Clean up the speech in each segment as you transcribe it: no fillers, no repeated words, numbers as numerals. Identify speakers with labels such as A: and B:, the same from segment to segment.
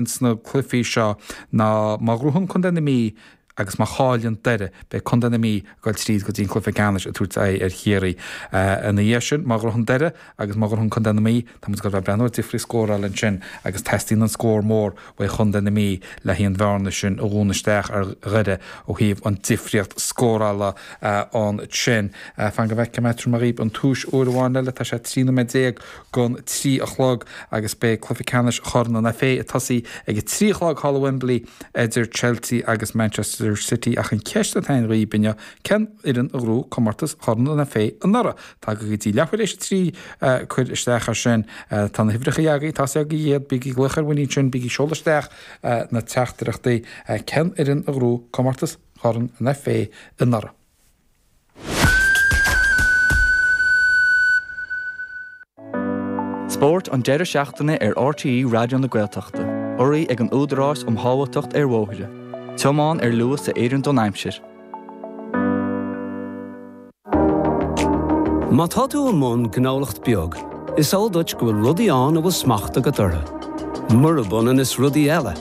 A: Sna cluichí seo ná má ghnóthaíonn Contae na Mí agus má chailleann Doire, beidh Contae na Mí ag dul tríd go dtí an cluiche ceannais ag tabhairt aghaidh ar Chiarraí. Ina dhiaidh sin, má ghnóthaíonn Doire agus má ghnóthaíonn Contae na Mí, tá muid ag dul a bheith ag breathnú ar difríocht scórála ansin agus teastaíonn an scór mór uaidh Chontae na Mí le haghaidh an bhearna sin a dhúnadh isteach ar Dhoire ó thaobh an difríocht scórála ansin. Fan go bhfeicfidh mé, tabharfaidh mé dhaoibh an tomhas uair amháin eile, tá sé 13 nóiméad gon 3 a chlog agus beidh cluiche ceannais Chorn an FA ag tosaí ag a 3 a chlog thall i Wembley idir Chelsea agus Manchester City ach an cheist atá againn dhaoibh inniu, cén fhoireann a ghnóthóidh comórtas Chorn an FA anuraidh? Tagaigí go dtí leathuair éis a 3 cuir isteach air sin. Tá na huimhreacha agaibh, tá 's agaibh iad, bígí ag glaoch ar Winnie ansin, bígí ag seoladh isteach na teachtaireachtaí. Cén fhoireann a ghnóthóidh comórtas Chorn an FA anuraidh?
B: Spórt an deireadh seachtaine ar RTÉ Raidió na Gaeltachta, urraithe ag an Údarás um Shábháilteacht ar Bhóithre. Tiomáin ar luas a oireann don aimsir.
C: Má tá tú i mbun gnólacht beag, is eol duit go bhfuil rudaí ann a bhfuil smacht agat orthu, murab ionann is rudaí eile.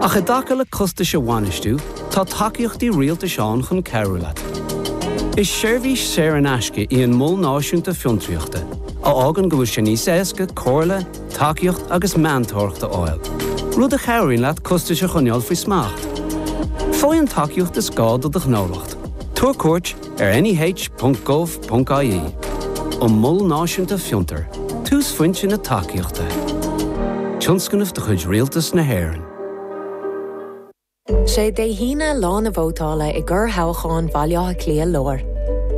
C: Ach i dtaca le costais a bhainistiú, tá tacaíochtaí rialtais ann chun cabhrú leat. Is seirbhís saor in aisce í an Mol Náisiúnta Fiontraíochta, a fhágann go bhfuil sé níos éasca comhairle, tacaíocht agus meantóireacht a fháil, rud a chabhraíonn leat costais a choinneáil faoi smacht. Faigh an tacaíocht is gá do do ghnólacht. Tabhair cuairt ar neh.gov.ie. An Mol Náisiúnta Fiontar, túsphointe na tacaíochta. Tionscnamh de chuid Rialtas na hÉireann.
D: Sé Dé hAoine lá na vótála i gcorrthoghchán Bhaile Átha Cliath Láir.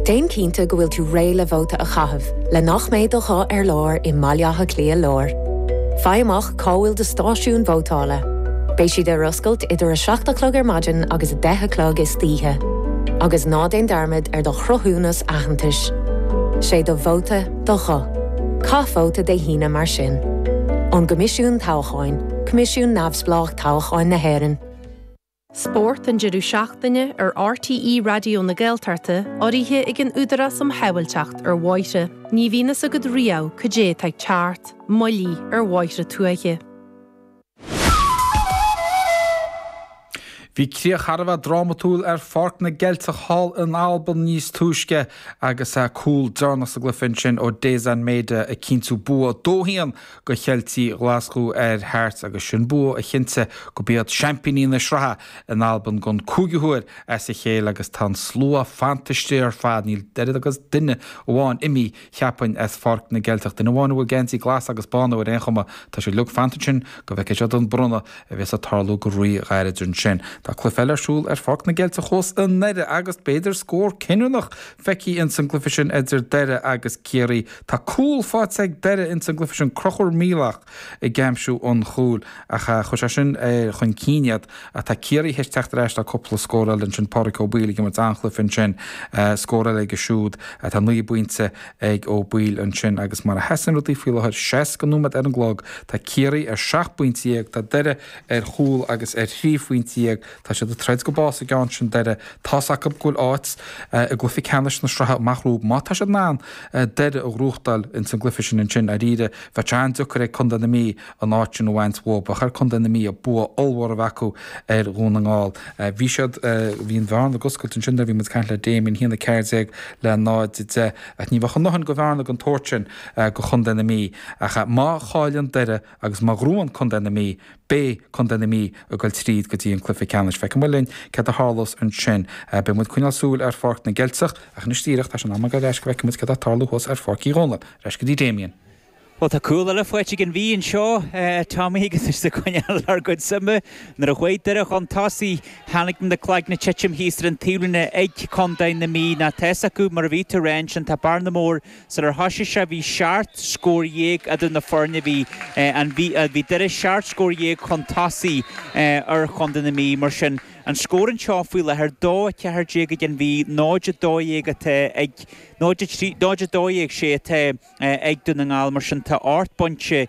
D: Déan cinnte go bhfuil tú réidh le vóta a chaitheamh le nach mbeidh do ghuth ar lár i mBaile Átha Cliath Láir. Faigh amach cá bhfuil do stáisiún vótála. Beidh siad ar oscailt idir 7 a chlog ar maidin agus 10 a chlog istoíche. Agus ná déan dearmad ar do chruthúnas aitheantais. Sé do vóta do ghuth. Caith vóta Dé hAoine mar sin. Ón gCoimisiún Toghcháin, Coimisiún Neamhspleách Toghcháin na hÉireann.
E: Spórt an deireadh seachtaine ar RTÉ Raidió na Gaeltachta, urraithe ag an Údarás um Shábháilteacht ar Bhóithre. Ní bhíonn fhios agat riamh cad é atá ag teacht, moilligh ar bhóithre tuaithe.
A: Bhí críoch thar a bheith drámatúil ar Pháirc na gCeilteach thall in Albain níos túisce agus cúl deireanach sa gcluiche ansin ó Daizen Maeda ag cinntiú bua 2-1 do Cheiltigh Ghlaschú ar Hearts agus sin bua a chinntigh gurb iad seaimpíní na sraithe in Albain don cúigiú huair as a chéile agus tá an slua fanta istigh ar fad, níl oiread agus duine amháin imithe cheapfainn as Pháirc na gCeilteach. Duine amháin a bhfuil geansaí glas agus bán air ar aon chuma. Tá siad uilig fanta ansin go bhfeicfidh siad an bronnadh a bheas ag tarlú go rí-ghairid ansin. Tá cluiche eile ar siúl ar Pháirc na gCeilteach thuas i nDoire agus b'fhéidir scór cinniúnach feicthe ins an gcluiche sin idir Doire agus Ciarraí. Tá cúl faighte ag Doire ins an gcluiche sin, Conchúr Míleach ag aimsiú an chúil ach chuir sé sin chun cinn iad ach tá Ciarraí théis teacht ar ais le cúpla scór eile ansin, Pádraic Ó Baoill ag imirt an-chluiche ansin, scór eile aige siúd, tá 9 bpointe ag Ó Baoill ansin agus mar a sheasann rudaí faoi láthair, 60 nóiméad ar an gclog, tá Ciarraí ar 17 bpointe, tá Doire ar chúl agus ar thrí phointe dhéag, tá siad ag troid go bás an gceann sin Doire, tá's acu go bhfuil áit i gcluiche ceannais na sraithe amach rompu má tá siad in ann Doire a ghnóthachtáil ins an gcluiche sin ansin, dáiríre, Bheadh sé an-deacair ag Contae na Mí an áit sin a bhaint uathu. Bheadh ar Contae na Mí bua ollmhór a bheith acu ar Dhún na nGall. Bhí siad, bhí an bhearna ag oscailt ansin nuair a bhí muid ag caint le Damien, 1-14 le 0-10 ach ní bheadh a ndóthain de bhearna den tsórt sin do Chontae na Mí. Ach má chailleann Doire agus má ghnóthaíonn Contae na Mí, beidh Contae na Mí ag dul tríd go dtí an cluiche ceannais. Feicfidh muid linn céard a tharlós ansin. Beidh muid ag coinneáil súil ar Pháirc na gCeilteach ach anois díreach tá sé in am a ghabháil ar ais go bhfeicfidh muid céard atá ag tarlú thuas ar Pháirc Uí Dhónaill. Ar ais go dtí Damien.
F: Bhuel, tá cúl eile faighte ag an Mhí anseo, a Tommy, agus muid ag coinneáil ár gcuid suime. Nuair a chuaigh Doire chun tosaigh, tháinig na cloigne ag titim thíos ar an taobhlíne ag Contae na Mí. Ná tá fhios acu, mar a bhí tú a rá ansin, tá bearna mór. Sular thoisigh sé, bhí seacht scór dhéag idir na foirne. Bhí an Mhí, bhí Doire seacht scór dhéag chun tosaigh ar Chontae na Mí. Mar sin, an scór anseo faoi láthair, 2, 14 ag an Mhí, 0, 12 atá ag, 0, 3, 0, 12, sé atá. ag Dún na nGall, mar sin tá ocht bpointe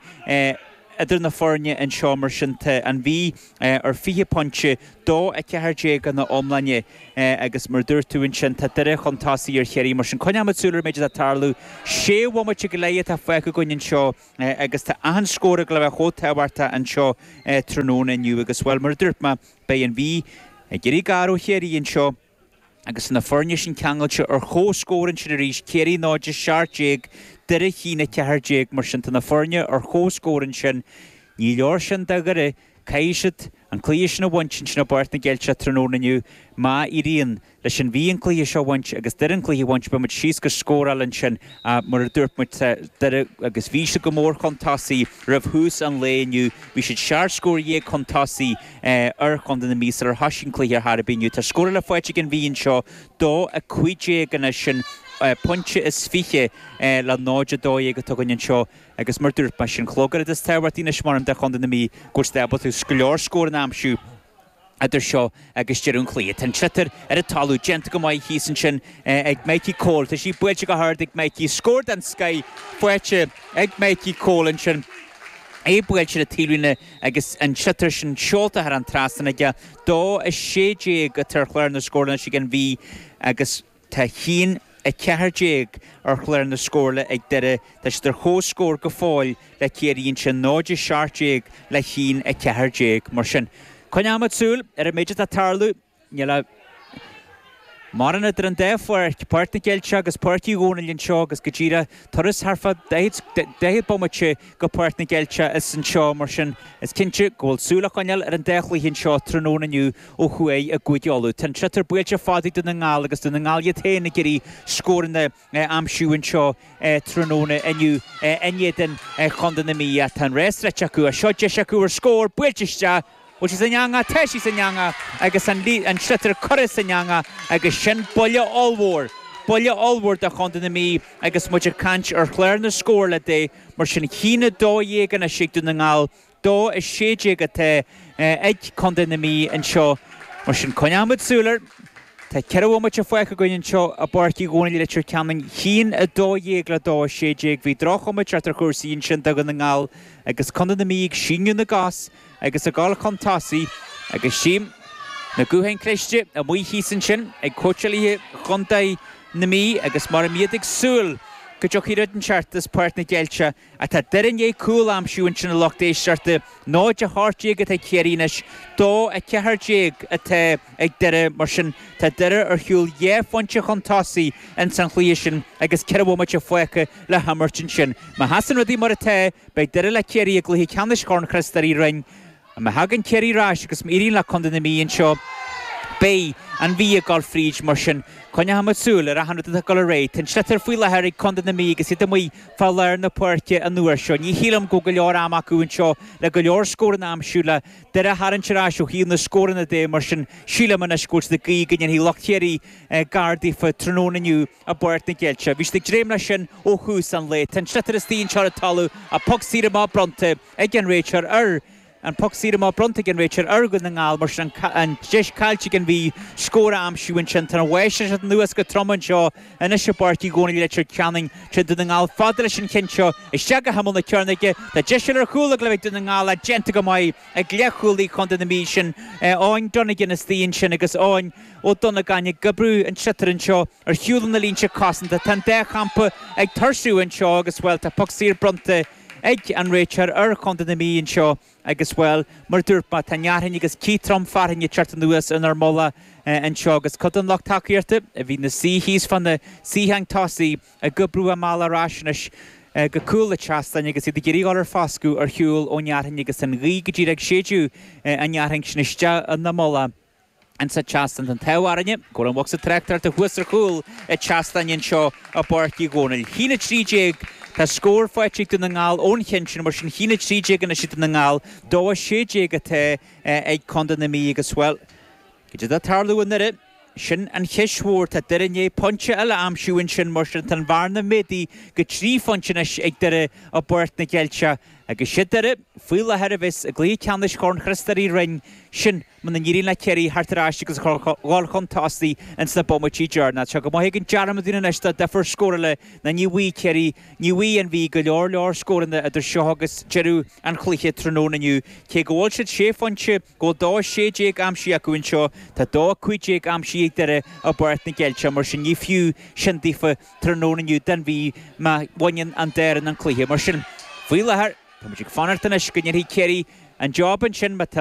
F: idir na foirne anseo mar sin tá an Mhí ar 20 pointe, 2, 14 ina iomláine agus mar a dúirt tú ansin tá Doire chun tosaigh ar Chiarraí mar sin coinneoimid súil ar an méid atá ag tarlú. Sé bhomaite go leith atá fágtha againn anseo agus tá achan scór ag dul a bheith chomh tábhachtach anseo tráthnóna inniu agus bhuel mar a dúirt mé beidh an Mhí ag iarraidh gar ó Chiarraí anseo. Agus na foirne sin ceangailte ar comhscór ansin arís, Ciarraí 0, 17, Doire 1, 14, mar sin tá na foirne ar comhscór ansin. Ní leor sin do Dhoire, caithfidh siad an cluiche sin a bhaint ansin i bPáirc na gCeilteach tráthnóna inniu. Má éiríonn leis an Mhí an cluiche seo a bhaint agus Doire an cluiche a bhaint, beidh muid síos go scóráil ansin. Ach mar a dúirt muid, tá Doire agus bhí siad go mór chun tosaigh roimh thús an lae inniu. Bhí siad seacht scór dhéag chun tosaigh ar Chontae na Mí sular thosaigh an cluiche ar chor ar bith inniu. Tá scór eile faighte ag an Mhí anseo, 2, 15 anois, sin pointe is 20 le 0, 12 atá againn anseo agus mar a dúirt mé, sin an rud is tábhachtaí anois measaim do Chontae na Mí go bhfuil siad ábalta go leor scóranna a aimsiú. idir seo agus deireadh an chluiche. Tá an sliotar ar an talamh, déanta go maith thíos ansin ag Mikey Cole. Tá sí buailte go hard ag Mikey. Scór den scoith faighte ag Mikey Cole ansin. É buailte ar an taobhlíne agus an sliotar sin seolta thar an trasnán aige. 2, 16 atá ar chlár na scórála anois ag an Mhí agus tá 1, 14 ar chlár na scórála ag Doire. Tá siad ar comhscór go fóill le Ciarraí ansin, 0, 17 le 1, 14. Mar sin, coinneoimid súil ar an méid atá ag tarlú. Níl ach mórán idir an dá pháirc, Páirc na gCeilteach agus Páirc Uí Dhónaill anseo agus go díreach turas thart fá 40 bomaite go Páirc na gCeilteach is anseo. Mar sin, is cinnte go bhfuil súil á coinneáil ar an dá chluiche anseo tráthnóna inniu ó thuaidh i gCúige Uladh. Tá an sliotar buailte fada ag Dún na nGall agus Dún na nGall iad féin ag iarraidh scóranna a aimsiú anseo tráthnóna inniu in éadan Chontae na Mí. Tá an rás rite acu. Seo deis acu ar scór buailte isteach. Bhfuil sí san eangach? Tá sí san eangach agus an sliotar curtha san eangach agus sin buille ollmhór, buille ollmhór do Chontae na Mí agus muid ag caint ar chlár na scórála de. Mar sin, 1-12 anois ag Dún na nGall. 2, 16 atá ag Contae na Mí anseo. Mar sin, coinneoimid súil air. Tá 4 bhomaite fágtha againn anseo i bPáirc Uí Dhónaill i Leitir Ceanainn. 1, 12 le 2, 16. Bhí droch-chuma ag teacht ar chúrsaí ansin do Dhún na nGall agus Contae na Mí ag síneadh na gcos agus ag dul chun tosaigh agus tchím na gutháin cliste amuigh thíos ansin ag cóitseálaithe Chontae na Mí agus mar a iad ag súil go dtiocfaidh rud inteacht as Páirc na gCeilteach Ach tá Doire i ndiaidh cúl a aimsiú ansin a lucht éisteachta. 0, 18 atá ag Ciarraí anois, 2, 14 atá ag Doire. Mar sin, tá Doire ar shiúl dhá phointe chun tosaigh ins an chluiche sin agus 4 bhomaite fágtha le himirt ansin. Má sheasann rudaí mar atá, beidh Doire le Ciarraí i gcluiche ceannais Chorn Chriostóir Uí Rinn. Má thagann Ciarraí ar ais agus má éiríonn le Contae na Mí anseo, beidh an Mhí ag dul fríd. Mar sin, coinneochaimid súil ar achan rud atá ag dul ar aghaidh. Tá an sliotar faoi láthair ag Contae na Mí agus iad amuigh fá lár na páirce an uair seo. Ní shílim go bhfuil go leor ama acu anseo le go leor scóranna a aimsiú le Doire a tharraingt ar ais ó thaobh na scóranna de. Mar sin, sílim anois go bhfuil siad ag guí go ndéanfaidh lucht Chiarraí gar daofa tráthnóna inniu i bPáirc na gCeilteach. Bhí siad ag dréim leis sin ó thús an lae. Tá an sliotar istigh anseo ar an talamh, an poc saor amach bronnta. ag an réiteoir ar an poc saor amach bronnta ag an réiteoir ar Dhún na nGall, mar sin an deis caillte ag an Mhí scór a aimsiú ansin. Tá an bháisteach ag teacht anuas go trom anseo anois i bPáirc Uí Dhónaill i Leitir Ceanainn. Téann Dún na nGall fada leis an cheann seo isteach go himeall na cearnóige. Tá deis eile ar chúl ag Dún na nGall ach déanta go maith ag leathchúlaí Chontae na Mí sin Eoin Donegan istigh ansin agus Eoin Ó Donnagáin ag oibriú an tsliotair anseo ar shiúl na línte cosanta. Tá an dá champa ag tuirsiú anseo agus, bhuel, tá poc saor bronnta ag an réiteoir ar Chontae na Mí anseo agus, bhuel, mar a dúirt mé, tá nearthainn agus cith trom fearthainne ag teacht anuas inár mullach anseo agus cuid den lucht tacaíochta a bhí ina suí thíos fá na suíocháin tosaigh ag oibriú a mbealach ar ais anois go cúl an tseastáin agus iad ag iarraidh dhul ar foscadh ar shiúl ón fhearthainn agus an ghaoth go díreach ag séideadh an fhearthainn sin isteach ina mullach. Insa tseastán tá an t-ádh orainne go bhfuil an bocsa tráchtaireachta thuas ar chúl an tseastáin anseo i bPáirc Uí Dhónaill. 1-13 Tá scór faighte ag Dún na nGall ón cheann sin, mar sin 1-13 anois ag Dún na nGall, 2-16 atá ag Contae na Mí agus, bhuel, cad é atá ag tarlú i nDoire? Sin an cheist mhór. Tá Doire i ndiaidh pointe eile a aimsiú ansin, mar sin tá an bhearna méadaithe go 3 phointe anois ag Doire i bPáirc na gCeilteach. Agus siad Doire faoi láthair a bheas i gcluiche ceannais Chorn Chriostóir Uí Rinn, sin muna n-éiríonn le Ciarraí theacht ar ais agus dhul chun tosaigh ins na bomaití deireanacha. Tá sé go maith ag an dearmad dúinn anois dá difear scórála ná ní bhfaighidh Ciarraí, ní bhfaighidh an Mhí go leor leor scóranna idir seo agus deireadh an chluiche tráthnóna inniu. Cé go bhfuil siad sé phointe, go bhfuil 2-16 aimsithe acu anseo, tá 2-15 aimsithe ag Doire i bPáirc na gCeilteach, mar sin ní fiú sin daofa tráthnóna inniu don Mhí má bhaineann an dá fhoireann an cluiche. Mar sin, faoi láthair, tá muid ag fanacht anois go ndéanfaidh Ciarraí an job ansin má tá.